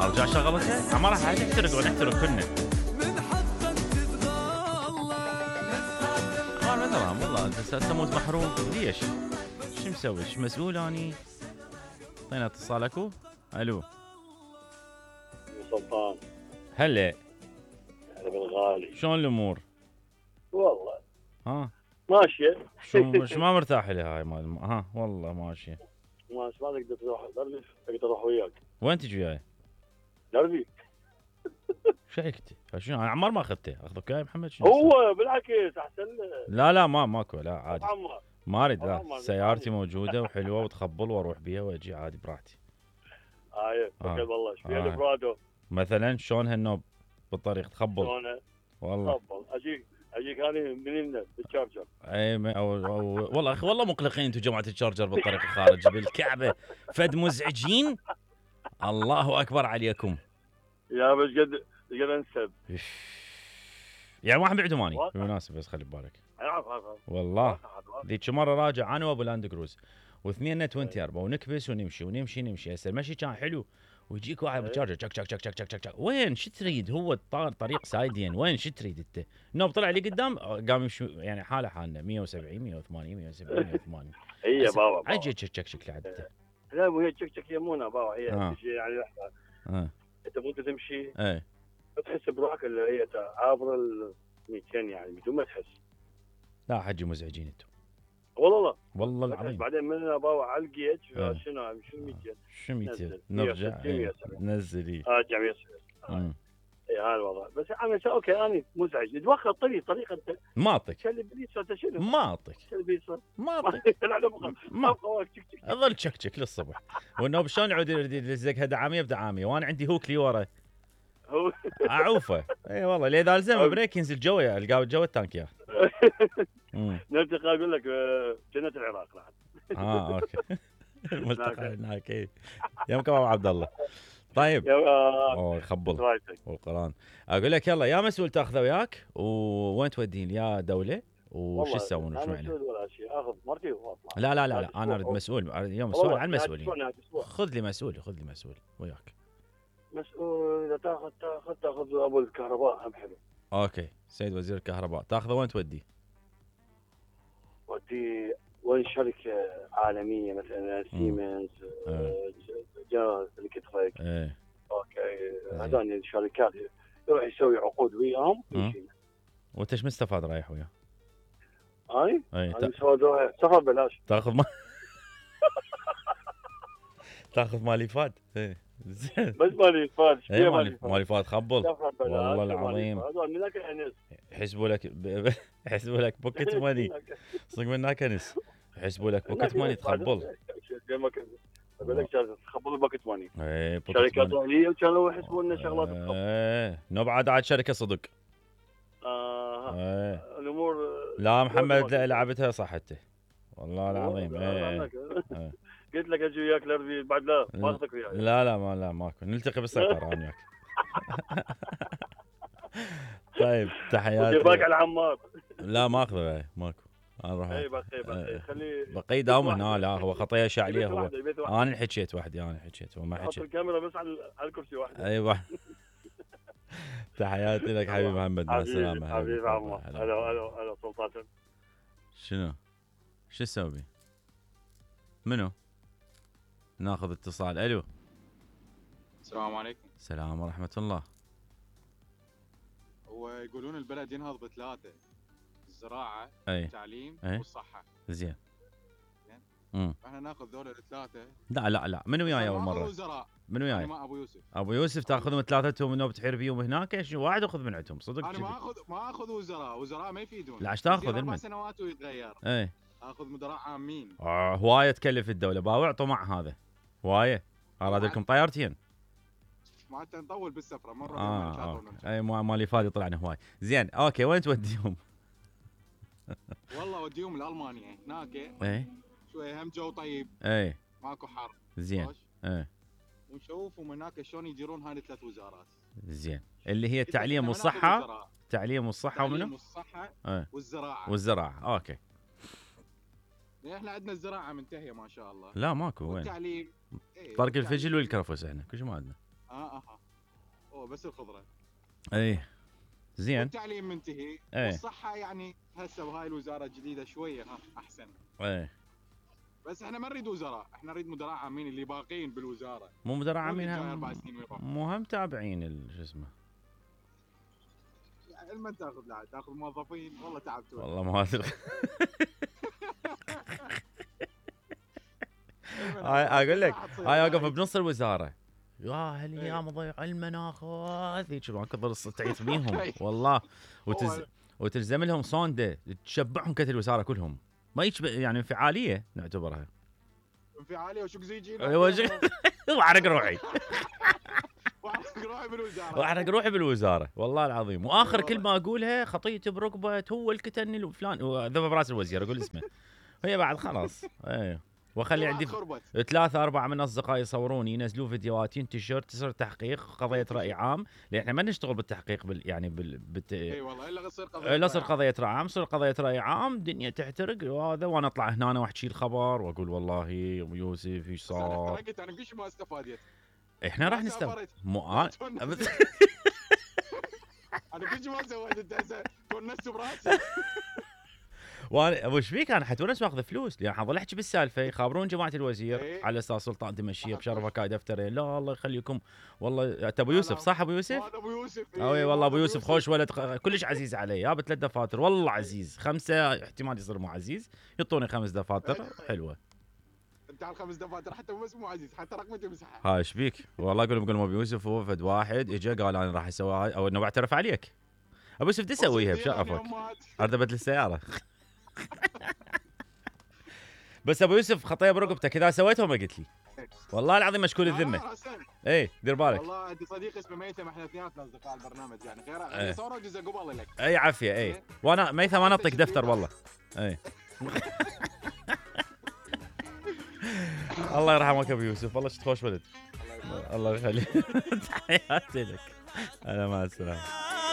ارجع شغلتها ما راح تحترق ونحترق كلنا. ما ترى والله انت تموت محروق ليش؟ شو مسوي؟ شو مسؤول اني؟ اعطينا اتصال اكو. الو سلطان. هلا هلا بالغالي. شلون الامور؟ والله ها ماشيه. شو ما مرتاح لي هاي مال ها والله ماشيه. ما تقدر تروح دربي، اقدر اروح وياك. وين تجي وياي؟ دربي. شو حكيتي؟ شنو انا عمار ما اخذته، اخذك وياي محمد شنو؟ هو بالعكس احسن له. لا ماكو لا عادي. عمار ما اريد لا، سيارتي موجوده وحلوه وتخبل واروح بيها واجي عادي براحتي. هاي توكل بالله. ايش فيها البرادو مثلا شلون هالنوب بالطريق تخبل؟ شلونه؟ والله تخبل اجيك انا منين بالشارجر. اي والله اخي والله مقلقين انتم جماعه الشارجر بالطريق الخارجي بالكعبه فد مزعجين. الله اكبر عليكم يا بس قد انسب يعني واحد بعده ماني بالمناسبه بس خلي ببالك. عارف والله ذيك مره راجع انا وابو لاند كروز واثنين 24 ونكبس ونمشي هسه المشي كان حلو ويجيك واحد بالشارجر تشك تشك تشك تشك تشك وين شو تريد؟ هو طريق سايدين وين شو تريد انت؟ نوب طلع لي قدام قام يمشي يعني حالنا 170 180 170 180. اي يا بابا عجي تشك تشك تشك لعدته. لا مو هي تشك تشك يمونه بابا هي يعني لحظه. انت مو تمشي تحس بروحك اللي هي عابر ال 200 يعني بدون ما تحس. لا حجي مزعجين انتم والله العظيم. بعدين من بابا على الجيت شنو 200 شو 200 نرجع نزلي ارجع 100. اي هذا الوضع. بس انا اوكي انا مزعج اتوخى طريق انت ما اعطيك شل بليس انت شنو ما اعطيك ما اعطيك ما اظل تشكشك للصبح والنوب شلون يعود يلزقها دعاميه بدعاميه وانا عندي هوك لي ورا اعوفه. اي والله ليه اذا الزم بريك ينزل جوه القاو جوه التانك يا نلتقي اقول لك جنة العراق بعد. اوكي الملتقى هناك. اي يومكم ابو عبد الله. طيب يخبل والقران. اقول لك يلا يا مسؤول تاخذه وياك وين تودين يا دوله وش تسوون وش معنا؟ ولا شيء اخذ مرتي واطلع. لا انا اريد مسؤول اليوم السؤال عن المسؤولين. خذ لي مسؤول وياك. مسؤول اذا تاخذ ابو الكهرباء هم حلو. اوكي سيد وزير الكهرباء تاخذه وين توديه؟ ودي وين شركه عالميه مثلا سيمنز جنرال الكتريك. اوكي هذول الشركات يروح يسوي عقود وياهم ويجينا. وانت ايش مستفاد رايح وياه؟ انا سفر بلاش. تاخذ مالي فاد. زين بس مالي فاد. مالي فاد خبل والله العظيم. هذول من هناك انس يحسبوا لك بوكيت ماني صدق من هناك انس يحسبوا لك بوكيت ماني تخبل. اقول لك تخبل بوكيت ماني. شركات اهليه وكانوا يحسبوا لنا شغلات تخبل. نبعد عاد شركه صدق. الامور لا محمد لعبتها صحته والله العظيم. قلت لك اجي وياك لربي بعد لا ما اخذك وياي. لا ماكو نلتقي بالسيطره انا وياك. طيب تحياتي. باك على عمار. لا ما اخذه ماكو انا اروح. اي بقي خليه بقي داوم هنا. لا هو خطيه شعليه هو. انا حكيت وحدي هو ما حكى. حط الكاميرا بس على الكرسي واحد. ايوه. تحياتي لك حبيبي محمد مع السلامه. حبيبي عمار. هلا سلطان. شنو تسوي؟ منو؟ ناخذ اتصال. الو السلام عليكم. السلام ورحمه الله. هو يقولون البلد ينهض بثلاثه: الزراعه التعليم والصحه. زين احنا ناخذ ذول الثلاثه. لا من وياي اول مره؟ من وياي؟ مع ابو يوسف تاخذهم ثلاثتهم من بتحير بيهم هناك ايش واحد اخذ من عندهم صدق؟ انا ما اخذ وزراء ما يفيدون. لا ايش تاخذ؟ 4 سنوات ويتغير. اخذ مدراء عامين. هوايه تكلف الدوله باوع طمع هذا هوايه. اراد لكم طيارتين. ما حتى نطول بالسفره مره. اي مالي فادي طلعنا هواي. زين اوكي وين توديهم؟ والله اوديهم لالمانيا هناك. شويه هم جو طيب. ماكو حر. زين. ونشوف من هناك شلون يديرون هاي الثلاث وزارات. زين اللي هي التعليم والصحه. ومنو؟ والصحه والزراعه. اوكي احنا عندنا الزراعه منتهيه ما شاء الله. لا ماكو وين؟ والتعليم طرق الفجل والكرفس احنا كل شيء ما عندنا. هو بس الخضره. اي زين. التعليم منتهي. والصحه يعني هسه بهاي الوزاره الجديده شويه احسن. اي بس احنا ما نريد وزراء، احنا نريد مدراء عامين اللي باقين بالوزاره. مو مدراء عامين، مو هم تابعين شو اسمه. يعني ما تاخذ موظفين، والله تعبتوا. والله ما ادري. اقول لك هاي اوقف بنص الوزاره، يا هالايام ضيع المناخ هذيك ما كثر تعيط بيهم والله. وتلزم لهم صونده تشبعهم كثر الوزاره كلهم، ما يعني انفعاليه نعتبرها. انفعاليه وشكزيجي واحرق روحي. واحرق روحي بالوزاره والله العظيم. واخر كلمه اقولها خطيتي بركبه هو الكتن فلان وذبه براس الوزير اقول اسمه، هي بعد خلاص. ايوه واخلي عندي 3-4 من اصدقائي يصوروني ينزلوا فيديوهات ينتشر تصير تحقيق قضيه راي عام، لان احنا ما نشتغل بالتحقيق اي والله الا تصير قضيه راي عام، تصير قضيه راي عام دنيا تحترق وهذا، وانا اطلع هنا واحكي الخبر واقول والله ابو يوسف ايش صار. انا كل ما استفادت. احنا راح نستفاد انا كل ما سويت انت هسه تونست براسي. وانا ابو ايش فيك انا حتونس واخذ فلوس، لان حظل احكي بالسالفه يخابرون جماعه الوزير إيه؟ على اساس سلطان تمشيه بشرفك هاي دفترين. لا الله يخليكم والله. انت ابو يوسف صح؟ ابو يوسف؟ هذا ابو يوسف. اي والله ابو يوسف خوش ولد كلش عزيز علي. يا ب3 دفاتر والله عزيز، 5 احتمال يصير مو عزيز، يعطوني 5 دفاتر حلوه. انت على 5 دفاتر حتى بس مو عزيز، حتى رقمتي مسحها. ها ايش بيك؟ والله اقول لهم ابو يوسف هو فد واحد اجى قال انا راح اسوي هاي او انه بعترف عليك. ابو يوسف تسويها بشرفك ارد ابدل السياره. بس ابو يوسف خطيه برقبتك اذا سويتها ما قلت لي والله العظيم مشكول الذمه. اي دير بالك. والله عندي صديق اسمه ميثم، احنا اثنيناتنا اصدقاء البرنامج يعني غير صوروا جزء قبل لك. اي عافيه. اي وانا ميثم ما نطق دفتر والله. اي الله يرحمك ابو يوسف، والله شفت خوش ولد. الله يخليك. تحياتي لك. انا مع السلامه.